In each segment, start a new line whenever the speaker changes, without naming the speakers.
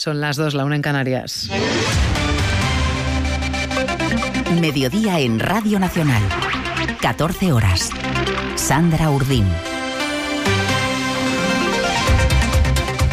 Son las 2, la 1 en Canarias.
Mediodía en Radio Nacional. 14 horas. Sandra Urdín.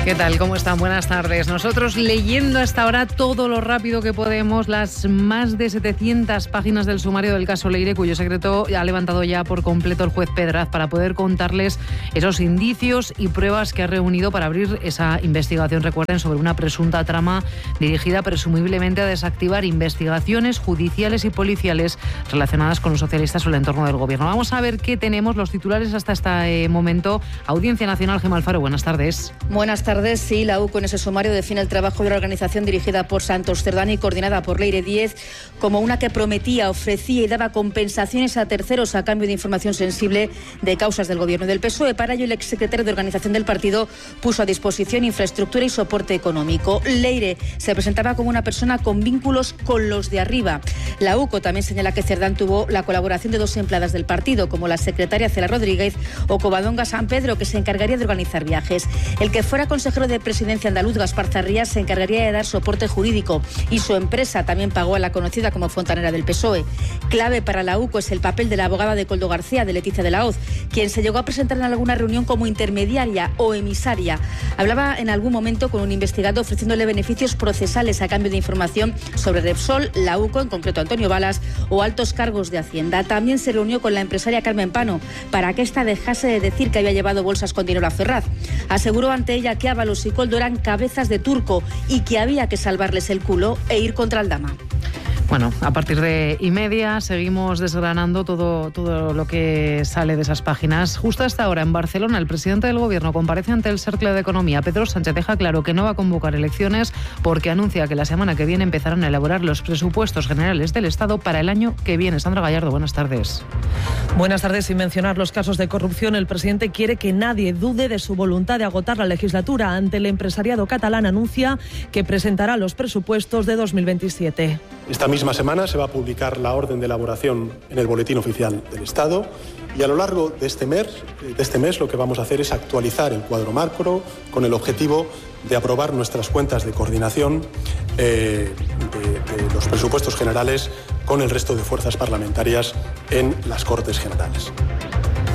¿Qué tal? ¿Cómo están? Buenas tardes. Nosotros leyendo hasta ahora todo lo rápido que podemos las más de 700 páginas del sumario del caso Leire, cuyo secreto ha levantado ya por completo el juez Pedraz para poder contarles esos indicios y pruebas que ha reunido para abrir esa investigación, recuerden, sobre una presunta trama dirigida presumiblemente a desactivar investigaciones judiciales y policiales relacionadas con los socialistas o el entorno del gobierno. Vamos a ver qué tenemos, los titulares hasta este momento. Audiencia Nacional, Gemma Alfaro, buenas tardes.
Buenas tardes. Sí, la UCO en ese sumario define el trabajo de la organización dirigida por Santos Cerdán y coordinada por Leire Díez como una que prometía, ofrecía y daba compensaciones a terceros a cambio de información sensible de causas del gobierno del PSOE. Para ello, el exsecretario de organización del partido puso a disposición infraestructura y soporte económico. Leire se presentaba como una persona con vínculos con los de arriba. La UCO también señala que Cerdán tuvo la colaboración de 2 empleadas del partido, como la secretaria Cela Rodríguez o Covadonga San Pedro, que se encargaría de organizar viajes. El que fuera consejero de presidencia andaluz, Gaspar Zarrías, se encargaría de dar soporte jurídico y su empresa también pagó a la conocida como fontanera del PSOE. Clave para la UCO es el papel de la abogada de Koldo García, de Leticia de la Hoz, quien se llegó a presentar en alguna reunión como intermediaria o emisaria. Hablaba en algún momento con un investigado ofreciéndole beneficios procesales a cambio de información sobre Repsol, la UCO, en concreto Antonio Balas, o altos cargos de Hacienda. También se reunió con la empresaria Carmen Pano para que ésta dejase de decir que había llevado bolsas con dinero a Ferraz. Aseguró ante ella que Ábalos y Koldo eran cabezas de turco y que había que salvarles el culo e ir contra Aldama.
Bueno, a partir de 1:30 seguimos desgranando todo lo que sale de esas páginas. Justo hasta ahora, en Barcelona, el presidente del Gobierno comparece ante el Cercle de Economía. Pedro Sánchez deja claro que no va a convocar elecciones porque anuncia que la semana que viene empezarán a elaborar los presupuestos generales del Estado para el año que viene. Sandra Gallardo, buenas tardes.
Buenas tardes. Sin mencionar los casos de corrupción, el presidente quiere que nadie dude de su voluntad de agotar la legislatura. Ante el empresariado catalán anuncia que presentará los presupuestos de 2027.
Esta misma semana se va a publicar la orden de elaboración en el Boletín Oficial del Estado y a lo largo de este mes lo que vamos a hacer es actualizar el cuadro macro con el objetivo de aprobar nuestras cuentas de coordinación de los presupuestos generales con el resto de fuerzas parlamentarias en las Cortes Generales.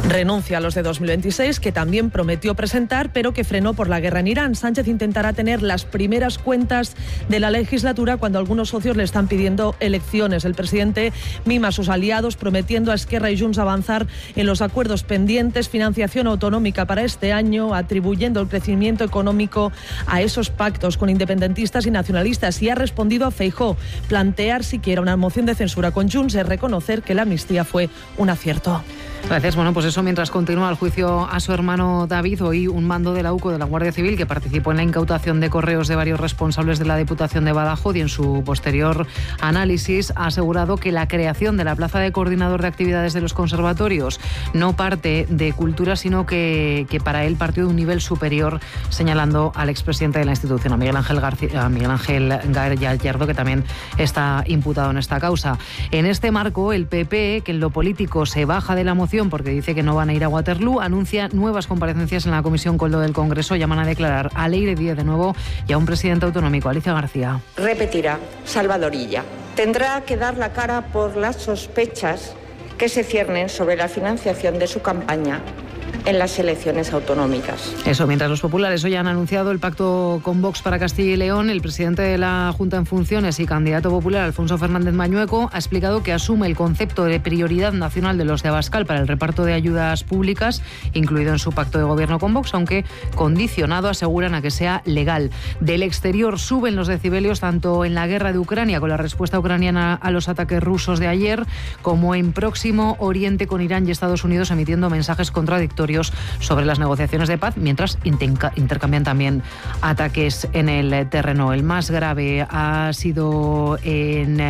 Renuncia a los de 2026, que también prometió presentar, pero que frenó por la guerra en Irán. Sánchez intentará tener las primeras cuentas de la legislatura cuando algunos socios le están pidiendo elecciones. El presidente mima a sus aliados, prometiendo a Esquerra y Junts avanzar en los acuerdos pendientes, financiación autonómica para este año, atribuyendo el crecimiento económico a esos pactos con independentistas y nacionalistas. Y ha respondido a Feijóo. Plantear siquiera una moción de censura con Junts es reconocer que la amnistía fue un acierto.
Gracias. Bueno, pues eso mientras continúa el juicio a su hermano David. Hoy un mando de la UCO de la Guardia Civil que participó en la incautación de correos de varios responsables de la Diputación de Badajoz y en su posterior análisis ha asegurado que la creación de la plaza de coordinador de actividades de los conservatorios no parte de cultura, sino que para él partió de un nivel superior, señalando al expresidente de la institución, a Miguel Ángel Gallardo, que también está imputado en esta causa. En este marco, el PP, que en lo político se baja de la moción porque dice que no van a ir a Waterloo, anuncia nuevas comparecencias en la Comisión Koldo del Congreso. Llaman a declarar a Leire Díez de nuevo y a un presidente autonómico, Alicia García.
Repetirá, Salvadorilla. Tendrá que dar la cara por las sospechas que se ciernen sobre la financiación de su campaña en las elecciones autonómicas.
Eso, mientras los populares hoy han anunciado el pacto con Vox para Castilla y León, el presidente de la Junta en funciones y candidato popular, Alfonso Fernández Mañueco, ha explicado que asume el concepto de prioridad nacional de los de Abascal para el reparto de ayudas públicas, incluido en su pacto de gobierno con Vox, aunque condicionado, aseguran, a que sea legal. Del exterior suben los decibelios tanto en la guerra de Ucrania, con la respuesta ucraniana a los ataques rusos de ayer, como en Próximo Oriente, con Irán y Estados Unidos emitiendo mensajes contradictorios sobre las negociaciones de paz, mientras intercambian también ataques en el terreno. El más grave ha sido en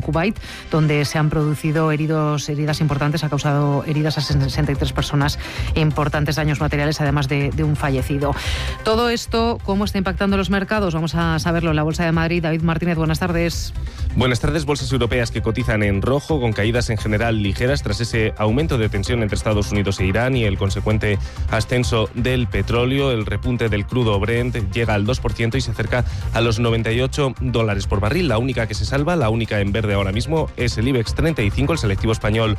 Kuwait, donde se han producido heridas importantes, ha causado heridas a 63 personas, importantes daños materiales, además de un fallecido. Todo esto, ¿cómo está impactando los mercados? Vamos a saberlo en la Bolsa de Madrid. David Martínez, buenas tardes.
Buenas tardes. Bolsas europeas que cotizan en rojo, con caídas en general ligeras tras ese aumento de tensión entre Estados Estados Unidos e Irán y el consecuente ascenso del petróleo. El repunte del crudo Brent llega al 2% y se acerca a los $98 por barril. La única que se salva, la única en verde ahora mismo, es el IBEX 35. El selectivo español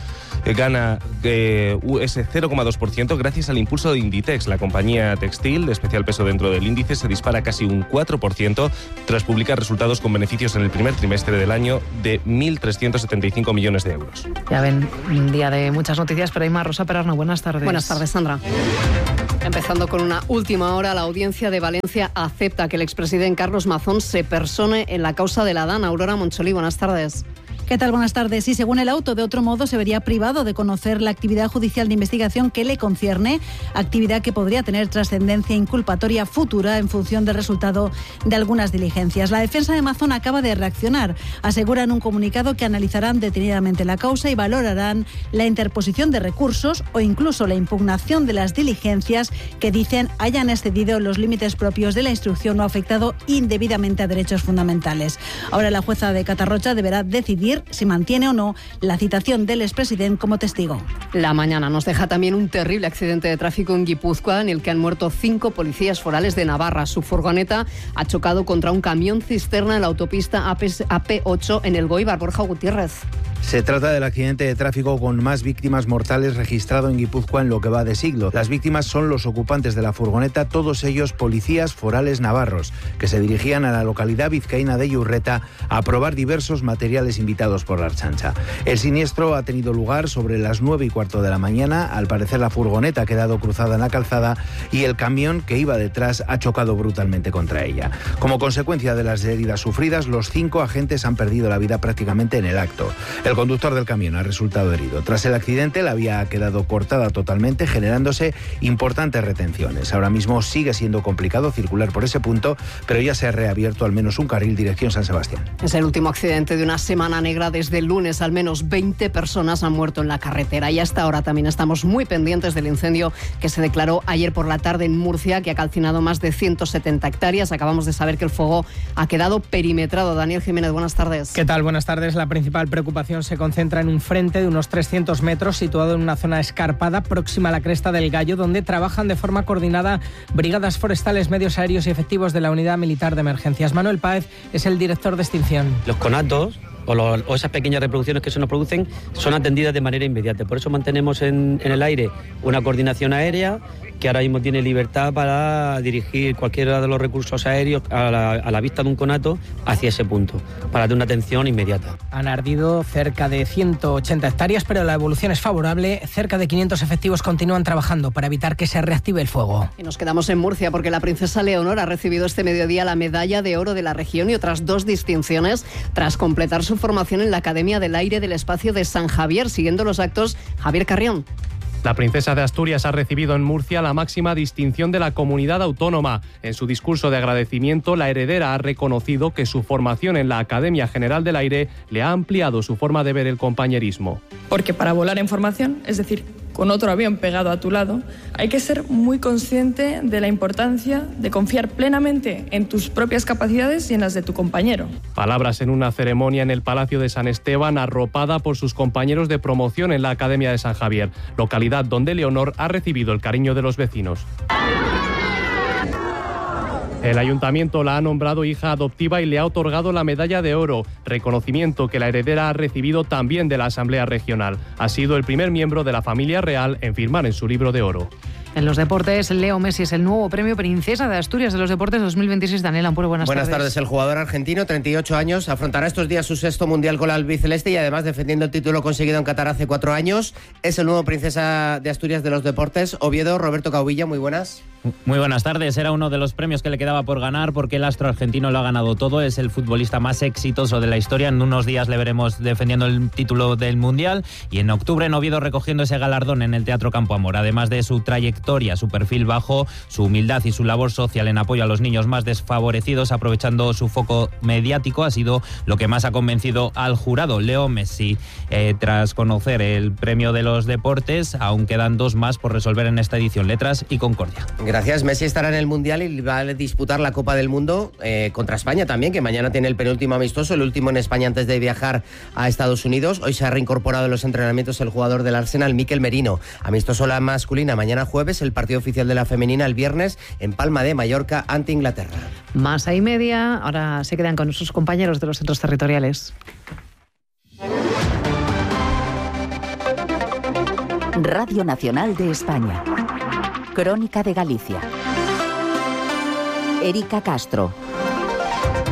gana ese 0,2% gracias al impulso de Inditex. La compañía textil de especial peso dentro del índice se dispara casi un 4% tras publicar resultados con beneficios en el primer trimestre del año de 1.375 millones de euros.
Ya ven, un día de muchas noticias, pero hay más. Rosa Perarno, buenas tardes.
Buenas tardes, Sandra. Empezando con una última hora, la Audiencia de Valencia acepta que el expresidente Carlos Mazón se persone en la causa de la DAN. Aurora Moncholí, buenas tardes.
¿Qué tal? Buenas tardes. Y según el auto, de otro modo, se vería privado de conocer la actividad judicial de investigación que le concierne, actividad que podría tener trascendencia inculpatoria futura en función del resultado de algunas diligencias. La defensa de Mazón acaba de reaccionar. Asegura en un comunicado que analizarán detenidamente la causa y valorarán la interposición de recursos o incluso la impugnación de las diligencias que dicen hayan excedido los límites propios de la instrucción o afectado indebidamente a derechos fundamentales. Ahora la jueza de Catarroja deberá decidir si mantiene o no la citación del expresidente como testigo.
La mañana nos deja también un terrible accidente de tráfico en Guipúzcoa en el que han muerto 5 policías forales de Navarra. Su furgoneta ha chocado contra un camión cisterna en la autopista AP8 en el Goibar. Borja Gutiérrez.
Se trata del accidente de tráfico con más víctimas mortales registrado en Guipúzcoa en lo que va de siglo. Las víctimas son los ocupantes de la furgoneta, todos ellos policías forales navarros, que se dirigían a la localidad vizcaína de Iurreta a probar diversos materiales invitados por la Ertzaintza. El siniestro ha tenido lugar sobre las 9:15 de la mañana. Al parecer la furgoneta ha quedado cruzada en la calzada y el camión que iba detrás ha chocado brutalmente contra ella. Como consecuencia de las heridas sufridas, los 5 agentes han perdido la vida prácticamente en el acto. El conductor del camión ha resultado herido. Tras el accidente, la vía ha quedado cortada totalmente, generándose importantes retenciones. Ahora mismo sigue siendo complicado circular por ese punto, pero ya se ha reabierto al menos un carril dirección San Sebastián.
Es el último accidente de una semana negra. Desde el lunes, al menos 20 personas han muerto en la carretera. Y hasta ahora también estamos muy pendientes del incendio que se declaró ayer por la tarde en Murcia, que ha calcinado más de 170 hectáreas. Acabamos de saber que el fuego ha quedado perimetrado. Daniel Jiménez, buenas tardes.
¿Qué tal? Buenas tardes. La principal preocupación se concentra en un frente de unos 300 metros situado en una zona escarpada próxima a la Cresta del Gallo, donde trabajan de forma coordinada brigadas forestales, medios aéreos y efectivos de la Unidad Militar de Emergencias. Manuel Páez es el director de extinción.
Los conatos o esas pequeñas reproducciones que se nos producen son atendidas de manera inmediata. Por eso mantenemos en el aire una coordinación aérea que ahora mismo tiene libertad para dirigir cualquiera de los recursos aéreos a la vista de un conato hacia ese punto, para dar una atención inmediata.
Han ardido cerca de 180 hectáreas, pero la evolución es favorable. Cerca de 500 efectivos continúan trabajando para evitar que se reactive el fuego.
Y nos quedamos en Murcia porque la princesa Leonor ha recibido este mediodía la Medalla de Oro de la región y otras 2 distinciones tras completar su formación en la Academia del Aire del Espacio de San Javier. Siguiendo los actos, Javier Carrión.
La princesa de Asturias ha recibido en Murcia la máxima distinción de la comunidad autónoma. En su discurso de agradecimiento, la heredera ha reconocido que su formación en la Academia General del Aire le ha ampliado su forma de ver el compañerismo.
Porque para volar en formación, es decir, con otro avión pegado a tu lado, hay que ser muy consciente de la importancia de confiar plenamente en tus propias capacidades y en las de tu compañero.
Palabras en una ceremonia en el Palacio de San Esteban, arropada por sus compañeros de promoción en la Academia de San Javier, localidad donde Leonor ha recibido el cariño de los vecinos. El ayuntamiento la ha nombrado hija adoptiva y le ha otorgado la medalla de oro, reconocimiento que la heredera ha recibido también de la Asamblea Regional. Ha sido el primer miembro de la familia real en firmar en su libro de oro.
En los deportes, Leo Messi es el nuevo premio Princesa de Asturias de los Deportes 2026. Daniel Ampuro, buenas tardes.
Buenas tardes. El jugador argentino, 38 años, afrontará estos días su 6º Mundial con la albiceleste y además defendiendo el título conseguido en Qatar hace 4 años. Es el nuevo Princesa de Asturias de los Deportes. Oviedo, Roberto Caubilla, muy buenas.
Muy buenas tardes. Era uno de los premios que le quedaba por ganar porque el astro argentino lo ha ganado todo. Es el futbolista más exitoso de la historia. En unos días le veremos defendiendo el título del Mundial y en octubre en Oviedo recogiendo ese galardón en el Teatro Campo Amor. Además de su trayectoria, su perfil bajo, su humildad y su labor social en apoyo a los niños más desfavorecidos, aprovechando su foco mediático, ha sido lo que más ha convencido al jurado. Leo Messi, tras conocer el premio de los deportes, aún quedan 2 más por resolver en esta edición: Letras y Concordia.
Gracias. Messi estará en el Mundial y va a disputar la Copa del Mundo contra España también, que mañana tiene el penúltimo amistoso, el último en España antes de viajar a Estados Unidos. Hoy se ha reincorporado en los entrenamientos el jugador del Arsenal, Mikel Merino. Amistoso la masculina mañana jueves, el partido oficial de la femenina el viernes en Palma de Mallorca ante Inglaterra.
Más a y media, ahora se quedan con sus compañeros de los centros territoriales.
Radio Nacional de España. Crónica de Galicia. Erika Castro.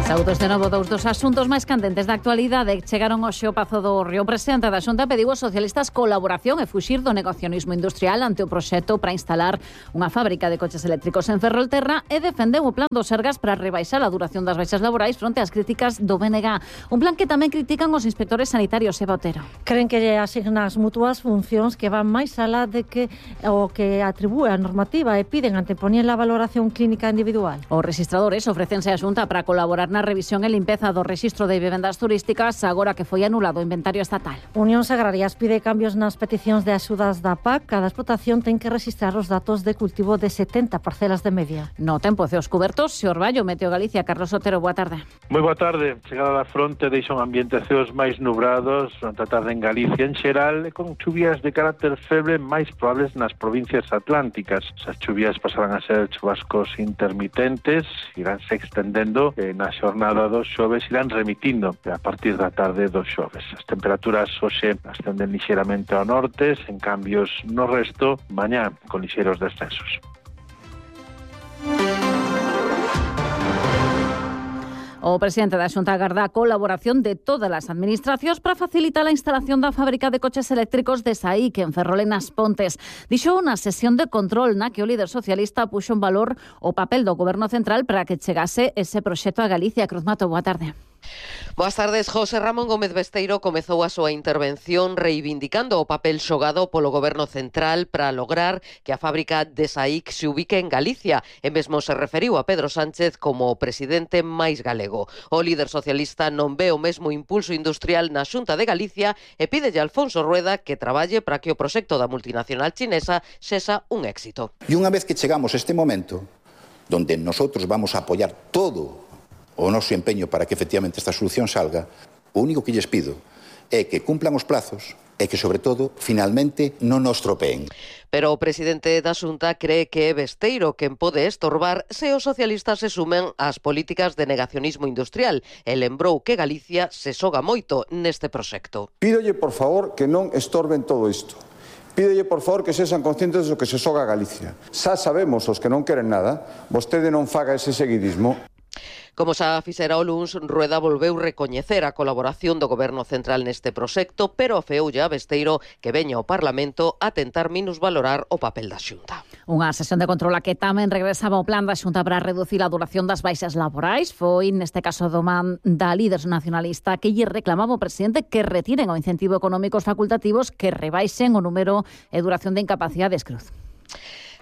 Saúdos de novo dos asuntos máis candentes da actualidade. Chegaron hoxe ao Pazo do Río. O presidente da Xunta pediu aos socialistas colaboración e fuxir do negacionismo industrial ante o proxecto para instalar unha fábrica de coches eléctricos en Ferrolterra e defendeu o plan do Sergas para rebaixar a duración das baixas laborais fronte ás críticas do BNG. Un plan que tamén critican os inspectores sanitarios. Eva Otero.
Creen que lle asignan as mutuas funcións que van máis alá de que o que atribúe a normativa e piden antepoñer a valoración clínica individual.
Os registradores ofrecense a Xunta para colaborar na revisión e limpeza do rexistro de vivendas turísticas agora que foi anulado o inventario estatal.
Unións Agrarias pide cambios nas peticións de axudas da PAC. Cada explotación ten que registrar os datos de cultivo de 70 parcelas de media.
No tempo ceos cubertos, Xorballo, Meteo Galicia. Carlos Otero, boa tarde.
Moi boa tarde. Chegada da fronte deixa un ambiente ceos máis nubrados durante a tarde en Galicia en xeral e con chuvias de carácter feble máis probables nas provincias atlánticas. Esas chuvias pasarán a ser chubascos intermitentes, iránse extendendo na xornada dos xoves, irán remitindo a partir da tarde dos xoves. As temperaturas hoxe ascenden lixeramente ao norte, sen cambios no resto, mañá con lixeros descensos.
O presidente da Xunta agarda a colaboración de todas as administracións para facilitar a instalación da fábrica de coches eléctricos de SAIC en Ferrol e nas Pontes. Dixo na sesión de control na que o líder socialista puxo en valor o papel do Goberno Central para que chegase ese proxecto a Galicia. Cruz Mato, boa tarde.
Boas tardes. José Ramón Gómez Besteiro comezou a súa intervención reivindicando o papel xogado polo Goberno Central para lograr que a fábrica de SAIC se ubique en Galicia e mesmo se referiu a Pedro Sánchez como o presidente máis galego. O líder socialista non ve o mesmo impulso industrial na Xunta de Galicia e pídelle a Alfonso Rueda que traballe para que o proxecto da multinacional chinesa sexa un éxito.
E unha vez que chegamos a este momento, donde nosotros vamos a apoiar todo o noso empeño para que efectivamente esta solución salga, o único que lles pido é que cumplan os plazos e que, sobre todo, finalmente non nos tropeen.
Pero o presidente da Xunta cree que é Besteiro quen pode estorbar se os socialistas se sumen ás políticas de negacionismo industrial e lembrou que Galicia se xoga moito neste proxecto.
Pídolle, por favor, que non estorben todo isto. Pídolle, por favor, que sexan conscientes do que se xoga Galicia. Xa sabemos os que non queren nada, vostede non faga ese seguidismo.
Como xa fixera o luns, Rueda volveu recoñecer a colaboración do Goberno Central neste proxecto, pero afeoulle a Besteiro que veña ao Parlamento a tentar minusvalorar o papel da Xunta.
Unha sesión de control a que tamén regresaba o plan da Xunta para reducir a duración das baixas laborais. Foi, neste caso, do man da líder nacionalista que lle reclamaba o presidente que retiren o incentivo económico facultativos que rebaixen o número e duración de incapacidades. Cruz.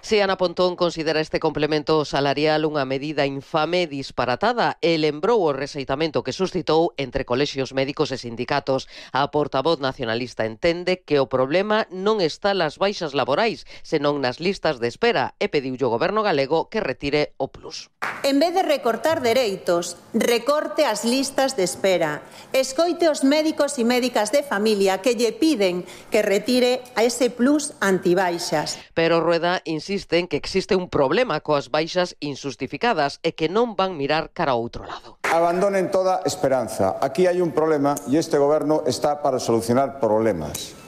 Si Ana Pontón considera este complemento salarial unha medida infame e disparatada e lembrou o rexeitamento que suscitou entre colexios médicos e sindicatos. A portavoz nacionalista entende que o problema non está nas baixas laborais, senón nas listas de espera e pediulle ao Goberno galego que retire o plus.
En vez de recortar dereitos, recorte as listas de espera. Escoite os médicos e médicas de familia que lle piden que retire a ese plus antibaixas.
Pero Rueda insiste en que existe un problema coas baixas injustificadas e que non van mirar cara ao outro lado.
Abandonen toda esperanza. Aquí hai un problema e este goberno está para solucionar problemas.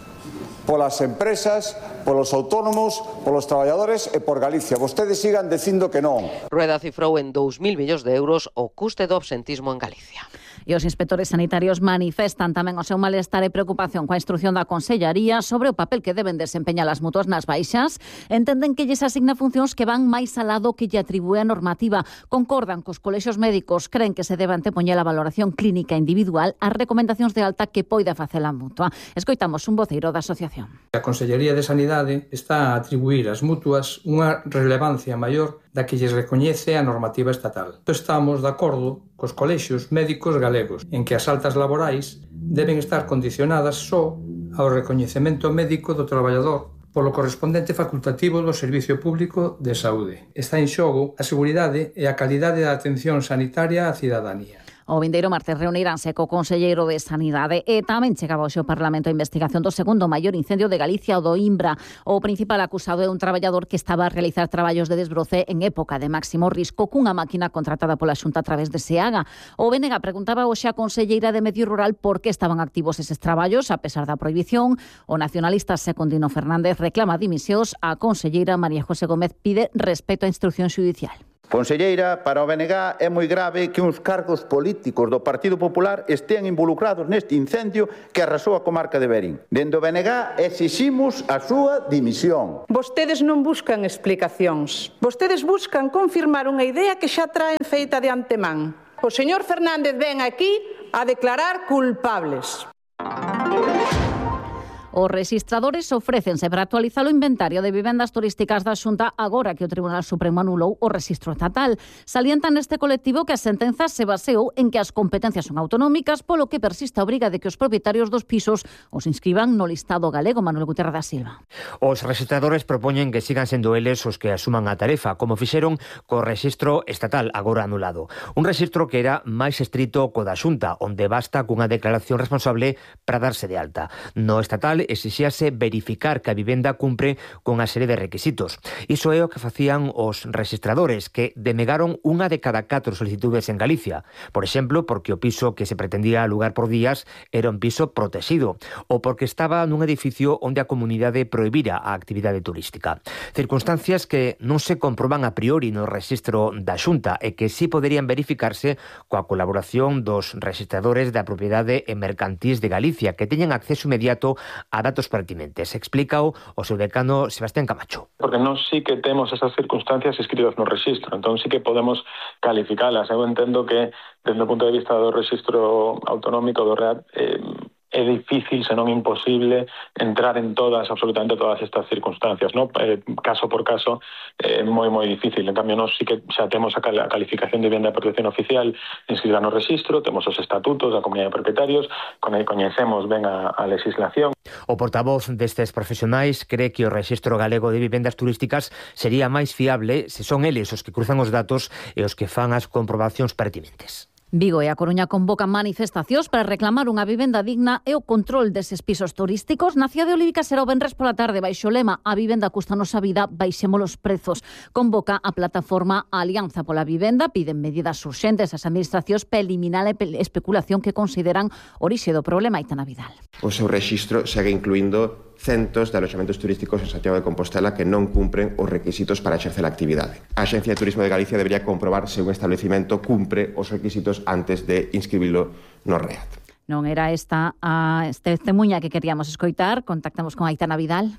Polas empresas, polos autónomos, polos traballadores e por Galicia. Vostedes sigan dicindo que non.
Rueda cifrou en 2.000 millóns de euros o custe do absentismo en Galicia.
E os inspectores sanitarios manifestan tamén o seu malestar e preocupación coa instrucción da Consellería sobre o papel que deben desempeñar as mutuas nas baixas. Entenden que lles asigna funcións que van máis alá do que lle atribúe a normativa. Concordan cos colexios médicos, creen que se debe antepoñer a valoración clínica individual ás recomendacións de alta que poida facer a mutua. Escoitamos un voceiro da asociación.
A Consellería de Sanidade está a atribuir ás mutuas unha relevancia maior da que lles recoñece a normativa estatal. Estamos de acordo cos colexios médicos galegos en que as altas laborais deben estar condicionadas só ao recoñecemento médico do traballador polo correspondente facultativo do Servicio Público de Saúde. Está en xogo a seguridade e a calidade da atención sanitaria á cidadanía.
O vindeiro martes reuniránse co conselleiro de Sanidade e tamén chegaba hoxe ao Parlamento a investigación do segundo maior incendio de Galicia, o do Imbra. O principal acusado é un traballador que estaba a realizar traballos de desbroce en época de máximo risco cunha máquina contratada pola Xunta a través de SEAGA. O BNG preguntaba hoxe a conselleira de Medio Rural por que estaban activos eses traballos a pesar da prohibición. O nacionalista Secundino Fernández reclama dimisións. A conselleira María José Gómez pide respeto á instrucción xudicial.
Conselleira, para o BNG é moi grave que uns cargos políticos do Partido Popular estean involucrados neste incendio que arrasou a comarca de Verín. Dende o BNG exiximos a súa dimisión.
Vostedes non buscan explicacións. Vostedes buscan confirmar unha idea que xa traen feita de antemán. O señor Fernández ven aquí a declarar culpables.
Os rexistradores ofrécense para actualizar o inventario de vivendas turísticas da Xunta agora que o Tribunal Supremo anulou o rexistro estatal. Salientan neste colectivo que a sentenza se baseou en que as competencias son autonómicas, polo que persiste a obriga de que os propietarios dos pisos os inscriban no listado galego. Manuel Gutiérrez da Silva.
Os rexistradores propoñen que sigan sendo eles os que asuman a tarefa, como fixeron co rexistro estatal agora anulado. Un rexistro que era máis estrito co da Xunta, onde basta cunha declaración responsable para darse de alta. No estatal exixíase verificar que a vivenda cumpre con a serie de requisitos. Iso é o que facían os rexistradores, que denegaron unha de cada 4 solicitudes en Galicia. Por exemplo, porque o piso que se pretendía alugar por días era un piso protegido, ou porque estaba nun edificio onde a comunidade prohibira a actividade turística. Circunstancias que non se comproban a priori no rexistro da Xunta e que sí poderían verificarse coa colaboración dos rexistradores da propiedade e mercantís de Galicia, que teñen acceso inmediato a datos pertinentes. Explícao o seu decano Sebastián Camacho.
Porque non sí que temos esas circunstancias escritas no rexistro, entón sí que podemos calificalas. Eu entendo que, desde o punto de vista do rexistro autonómico do REAT, é difícil, senón imposible, entrar en absolutamente todas estas circunstancias, ¿no? Caso por caso, moi difícil. En cambio, nós sí que xa temos a calificación de vivenda de protección oficial inscrita no rexistro, temos os estatutos da comunidade de propietarios, coñecemos ben a legislación.
O portavoz destes profesionais cree que o rexistro galego de vivendas turísticas sería máis fiable se son eles os que cruzan os datos e os que fan as comprobacións pertinentes.
Vigo e A Coruña convocan manifestacións para reclamar unha vivenda digna e o control deses pisos turísticos. Na cidade de Olívica será o venres pola tarde baixo o lema "A vivenda custanos a vida, baixemos os prezos". Convoca a plataforma Alianza pola Vivenda, piden medidas urxentes ás administracións para eliminar a especulación que consideran orixe do problema. Aitana Vidal.
O seu rexistro segue incluindo centos de aloxamentos turísticos en Santiago de Compostela que non cumpren os requisitos para exercer a actividade. A Axencia de Turismo de Galicia debería comprobar se un establecimento cumpre os requisitos antes de inscribilo no REAT.
Non era esta a testemuña que queríamos escoitar. Contactamos con Aitana Vidal.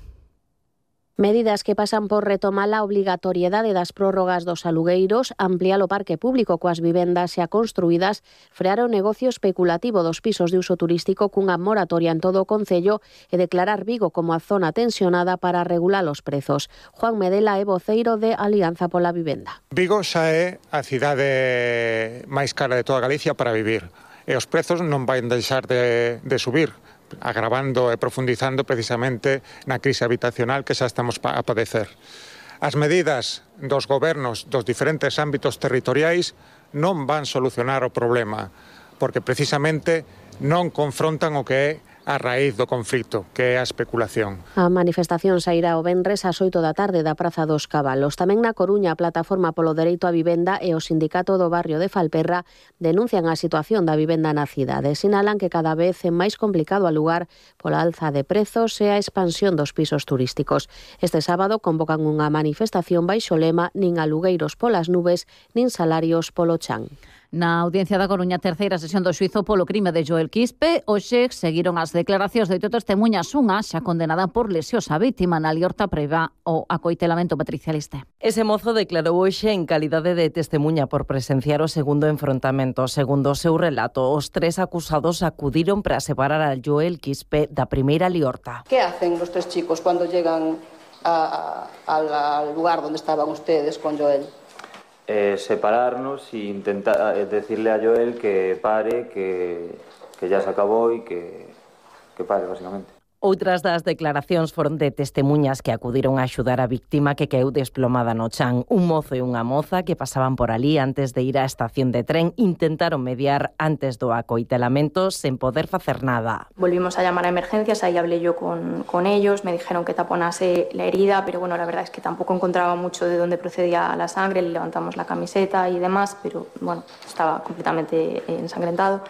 Medidas que pasan por retomar a obrigatoriedade das prórrogas dos alugueiros, ampliar o parque público coas vivendas xa construídas, frear o negocio especulativo dos pisos de uso turístico cunha moratoria en todo o concello e declarar Vigo como a zona tensionada para regular os prezos. Juan Medela é voceiro de Alianza pola Vivenda.
Vigo xa é a cidade máis cara de toda Galicia para vivir e os prezos non van deixar de subir, agravando e profundizando precisamente na crise habitacional que xa estamos a padecer. As medidas dos gobernos dos diferentes ámbitos territoriais non van solucionar o problema, porque precisamente non confrontan o que é a raíz do conflito, que é a especulación.
A manifestación sairá o venres ás 8 da tarde da Praza dos Cabalos. Tamén na Coruña, a Plataforma polo Dereito á Vivenda e o Sindicato do Barrio de Falperra denuncian a situación da vivenda na cidade. Sinalan que cada vez é máis complicado alugar pola alza de prezos e a expansión dos pisos turísticos. Este sábado convocan unha manifestación baixo lema "Nin alugueiros polas nubes, nin salarios polo chan".
Na Audiencia da Coruña, terceira sesión do xuízo polo crime de Joel Quispe, hoxe seguiron as declaracións de 8 testemuñas, unha xa condenada por lesións á vítima na liorta preva o acoitelamento patricialista.
Ese mozo declarou hoxe en calidade de testemuña por presenciar o segundo enfrontamento. Segundo o seu relato, os 3 acusados acudiron para separar a Joel Quispe da primeira liorta.
¿Qué hacen los 3 chicos cuando llegan al lugar donde estaban ustedes con Joel?
Separarnos e intentar decirle a Joel que pare, que ya se acabó y que pare, básicamente.
Outras das declaracións foron de testemuñas que acudiron a axudar a víctima que caeu desplomada no chan. Un mozo e unha moza que pasaban por ali antes de ir á estación de tren intentaron mediar antes do acoitelamento sen poder facer nada.
Volvimos a llamar a emergencias, ahí hablé yo con ellos, me dijeron que taponase la herida, pero bueno, la verdad es que tampoco encontraba mucho de dónde procedía la sangre, le levantamos la camiseta y demás, pero bueno, estaba completamente ensangrentado.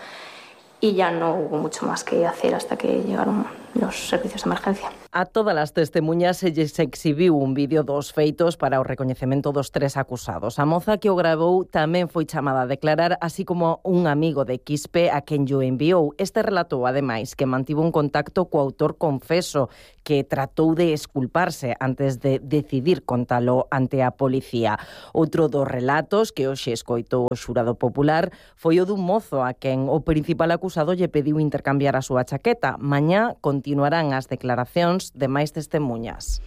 Y ya no hubo mucho más que hacer hasta que llegaron los servicios de emergencia.
A todas as testemuñas se lles exhibiu un vídeo dos feitos para o recoñecemento dos 3 acusados. A moza que o gravou tamén foi chamada a declarar, así como un amigo de Quispe a quen yo enviou. Este relatou, ademais, que mantivo un contacto co autor confeso, que tratou de esculparse antes de decidir contalo ante a policía. Outro dos relatos que hoxe escoitou o xurado popular foi o dun mozo a quen o principal acusado lle pediu intercambiar a súa chaqueta. Mañá continuarán as declaracións de máis testemuñas.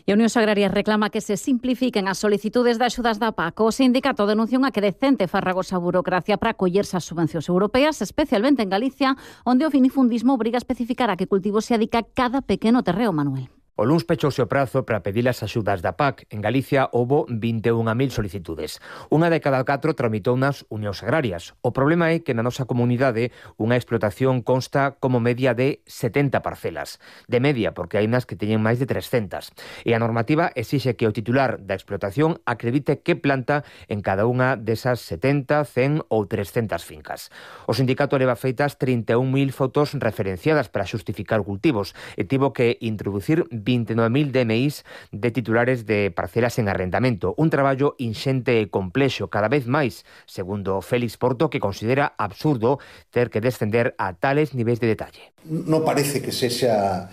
E a Unión Agraria reclama que se simplifiquen as solicitudes de axudas da PAC. O sindicato denuncia unha crecente farragosa burocracia para acollerse ás subvencións europeas, especialmente en Galicia, onde o finifundismo obriga a especificar a que cultivo se adica cada pequeno terreo, Manuel.
O luns pechouse o prazo para pedir as axudas da PAC. En Galicia houbo 21.000 solicitudes. Unha de cada 4 tramitou nas unións agrarias. O problema é que na nosa comunidade unha explotación consta como media de 70 parcelas. De media, porque hai nas que teñen máis de 300. E a normativa exixe que o titular da explotación acredite que planta en cada unha desas 70, 100 ou 300 fincas. O sindicato leva feitas 31.000 fotos referenciadas para xustificar cultivos e tivo que introducir 29.000 DMIs de titulares de parcelas en arrendamento. Un traballo inxente e complexo cada vez máis, segundo Félix Porto, que considera absurdo ter que descender a tales niveis de detalle.
Non parece que sexa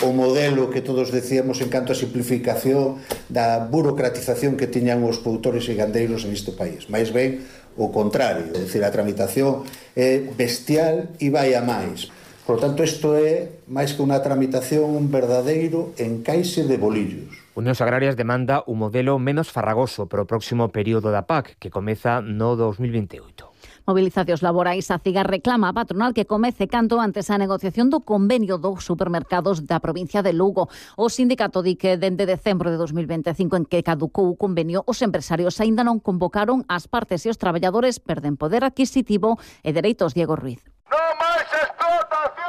o modelo que todos decíamos en canto a simplificación da burocratización que tiñan os produtores e gandeiros en este país. Mais ben o contrario, é dicir, a tramitación é bestial e vai a máis. Por lo tanto, isto é, máis que unha tramitación, un verdadeiro encaixe de bolillos.
Unións Agrarias demanda un modelo menos farragoso para o próximo período da PAC, que comeza no 2028.
Movilizacións laborais. A CIGA reclama a patronal que comece canto antes a negociación do convenio dos supermercados da provincia de Lugo. O sindicato di que dende decembro de 2025, en que caducou o convenio, os empresarios aínda non convocaron as partes e os traballadores perden poder adquisitivo e dereitos. Diego Ruiz.
Non máis explotación!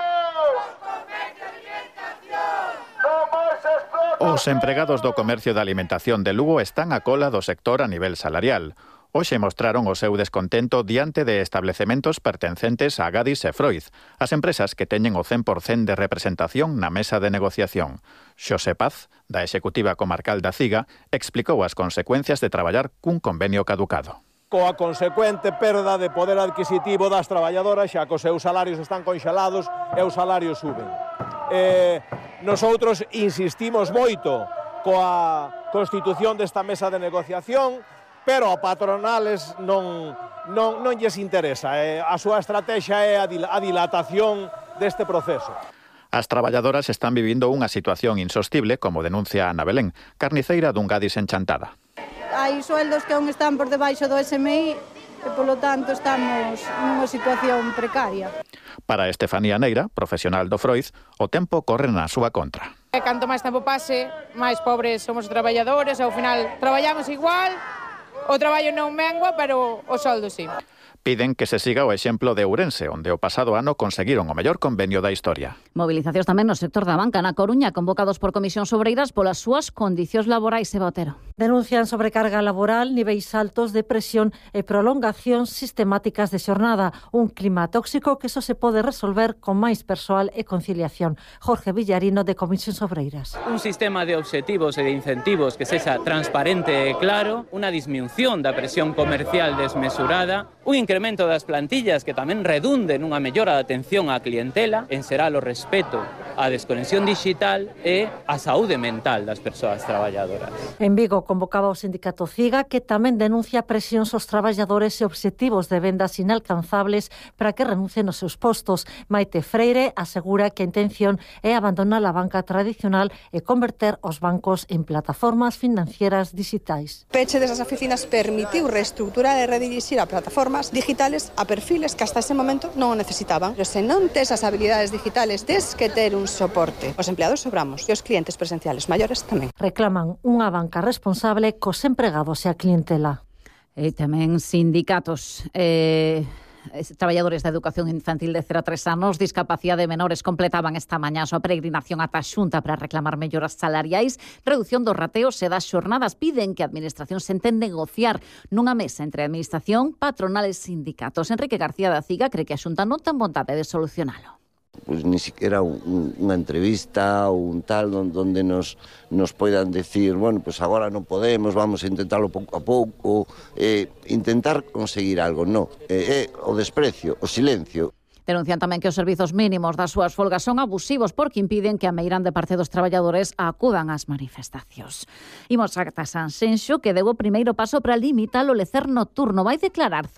Os empregados do comercio de alimentación de Lugo están a cola do sector a nivel salarial. Hoxe mostraron o seu descontento diante de establecementos pertencentes a Gadis e Freud, as empresas que teñen o 100% de representación na mesa de negociación. Xosé Paz, da Executiva Comarcal da CIGA, explicou as consecuencias de traballar cun convenio caducado.
Coa consecuente perda de poder adquisitivo das traballadoras, xa que os seus salarios están conxelados e os salarios suben. Nosoutros insistimos moito coa constitución desta mesa de negociación, pero a patronales non lles interesa. A súa estrategia é a dilatación deste proceso.
As traballadoras están vivindo unha situación insostible, como denuncia Ana Belén, carniceira dun Gadis en Chantada.
Hai sueldos que aún están por debaixo do SMI e, polo tanto, estamos nunha situación precaria.
Para Estefanía Neira, profesional do Freud, o tempo corre na súa contra.
Canto máis tempo pase, máis pobres somos os traballadores, ao final traballamos igual, o traballo non mengua, pero o soldo sí.
Piden que se siga o exemplo de Ourense, onde o pasado ano conseguiron o mellor convenio da historia.
Movilizacións tamén no sector da banca na Coruña, convocados por comisións obreiras polas súas condicións laborais. Eva Otero.
Denuncian sobrecarga laboral, niveis altos de presión e prolongacións sistemáticas de xornada. Un clima tóxico que só se pode resolver con máis persoal e conciliación. Jorge Villarino, de Comisións Obreiras.
Un sistema de obxectivos e de incentivos que sexa transparente e claro, unha disminución da presión comercial desmesurada, un incremento das plantillas que tamén redunde nunha mellora da atención á clientela, en será o respeto á desconexión digital e á saúde mental das persoas traballadoras.
En Vigo convocaba o sindicato CIGA, que tamén denuncia presións aos traballadores e obxectivos de vendas inalcanzables para que renuncien aos seus postos. Maite Freire asegura que a intención é abandonar a banca tradicional e converter os bancos en plataformas financieras digitais.
Peche desas oficinas permitiu reestructurar e redirixir a plataformas
habilidades digitales a perfiles que hasta ese momento non o necesitaban. Pero se non tes as habilidades digitales, tes que ter un soporte. Os empleados sobramos e os clientes presenciales maiores tamén.
Reclaman unha banca responsable cos empregados e a clientela.
E tamén sindicatos traballadores da educación infantil de 0 a 3 anos, discapacidade de menores, completaban esta mañá a súa peregrinación ata a Xunta para reclamar melloras salariais, reducción dos rateos e das xornadas. Piden que a Administración se entende negociar nunha mesa entre a Administración, patronales e sindicatos. Enrique García da Ciga cree que a Xunta non ten vontade de solucionalo.
Pues ni siquiera unha entrevista ou un tal donde nos poidan decir, bueno, pues agora non podemos, vamos a intentarlo pouco a pouco, intentar conseguir algo, no, o desprecio, o silencio.
Denuncian tamén que os servizos mínimos das súas folgas son abusivos porque impiden que a meirande parte dos traballadores acudan ás manifestacións. Imos ata Sanxenxo, que deu o primeiro paso para limitar o lecer nocturno. Vai declarar